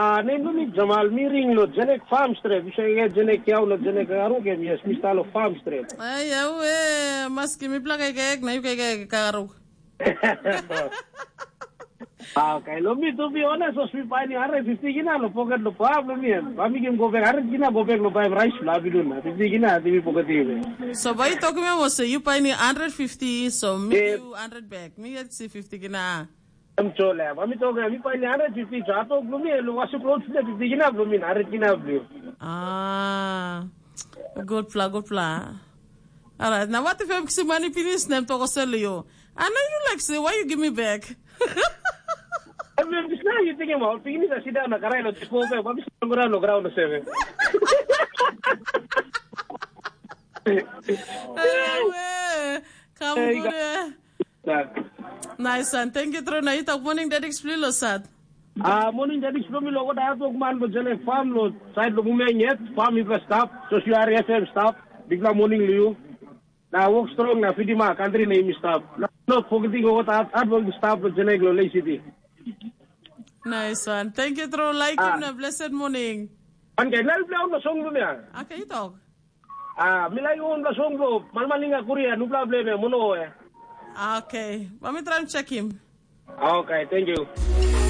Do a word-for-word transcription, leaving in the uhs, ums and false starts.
Ah, nem bilong mi Jamal, mi ring lo Jenek Farm Strip. Bisa ke Jenek kiau lo Jenek Karuk em, yes, mi stalo Farm Strip. Ai, au, eh, maski mi plak ekek, na yu kekek Karuk. Ah, okay, lo mi, to be honest, os mi paini hundred fifty kina lo pocket lo pap lo mi em. Ba mi kim go back hundred kina, go back lo bai rice lo abidun na. Fifty kina, ti mi pocket ibe. So, bai toki me mo se, yu paini hundred fifty, so mi Eh. Yu hundred back. Mi get si fifty kina. Em chole, ba mi toki, mi paini hundred fifty, so ato lo mi, lo wasu clothes le fifty kina lo mi, hundred kina lo. Ah, good pla, good pla. Alright, na what if em kisi mani pinis, nem toko sel yo. Ana, you like say, why you give me back? Em, em, dis na you think about, pinis a sit down na karai lo, just go back, ba mi sit down lo ground lo seven. Ewe, kam Hey, gure. Nice one. Thank you, Trona. Itak morning, Daddy Splilo sat. Ah, morning, Daddy Splilo, lo ko da tok man lo Jenek Farm lo, side lo Mumeng yet, farm i stop, so si ari F M stop, big la morning lo you. Na work strong na fiti ma country name stop. Na no forgetting what at at work stop lo Jenek lo Lake City. Nice one. Thank you, Tro. Like Ah. Him na blessed morning. An kai lal bla no song lo me. Okay, you talk. Ah, mi lai un bla song lo, malmalinga kuria, nubla ble me, mono e. Okay, let me try and check him. Okay, thank you.